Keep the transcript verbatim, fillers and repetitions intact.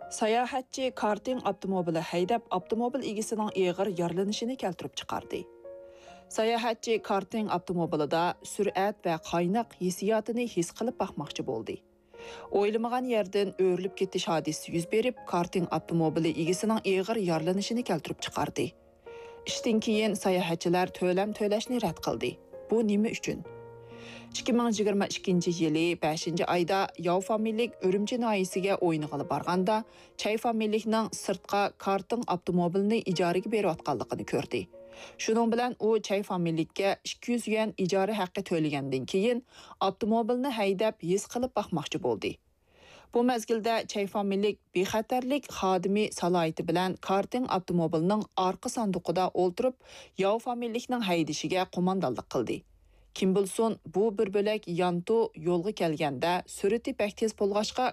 ساياھەتچى كارتىڭ ئاپتوموبىلى ھەيدەپ، ئاپتوموبىل ئىگىسىنىڭ ئېغىر يارىلىنىشىنى كەلتۈرۈپ چىقاردى. ساياھەتچى كارتىڭ ئاپتوموبىلىدا سۈرئەت ۋە قايناق ھېسسىياتىنى ھېس قىلىپ باقماقچى بولدى. ئويلىمىغان يەردىن ئۆرۈلۈپ كېتىش ھادىسىسى يۈز بېرىپ، كارتىڭ ئاپتوموبىلى ئىگىسىنىڭ ئېغىر يارىلىنىشىنى كەلتۈرۈپ چىقاردى. ئىشتىن كېيىن ساياھەتچىلەر تۆلەم تۆلەشنى رەت قىلدى. بۇ نېمە ئۈچۈن؟ ئىككى مىڭ يىگىرمە ئىككىنچى يىلى بەشىنچى ئايدا ياۋ فامىلىلىك ئۈرۈمچى ناھىيەسىگە ئوينىغىلى بارغاندا، چەي فامىلىلىكنىڭ سىرتقا كارتىڭ ئاپتوموبىلىنى ئىجارىگە بېرىۋاتقانلىقىنى كۆردى. شۇنىڭ بىلەن ئۇ چەي فامىلىلىككە ئىككى يۈز يۈەن ئىجارە ھەققى تۆلىگەندىن كېيىن، ئاپتوموبىلنى ھەيدەپ ھېس قىلىپ باقماقچى بولدى. بۇ مەزگىلدە چەي فامىلىلىك بىخەتەرلىك خادىمى سالاھىيىتى بىلەن كارتىڭ ئاپتوموبىلىنىڭ ئارقا ساندۇقىدا ئولتۇرۇپ، ياۋ فامىلىلىكنىڭ ھەيدىشىگە قوماندانلىق قىلدى. كىم بىلسۇن، بۇ بىر بۆلەك يانتۇ يولغا كەلگەندە سۈرئىتى بەك تېز بولغاچقا،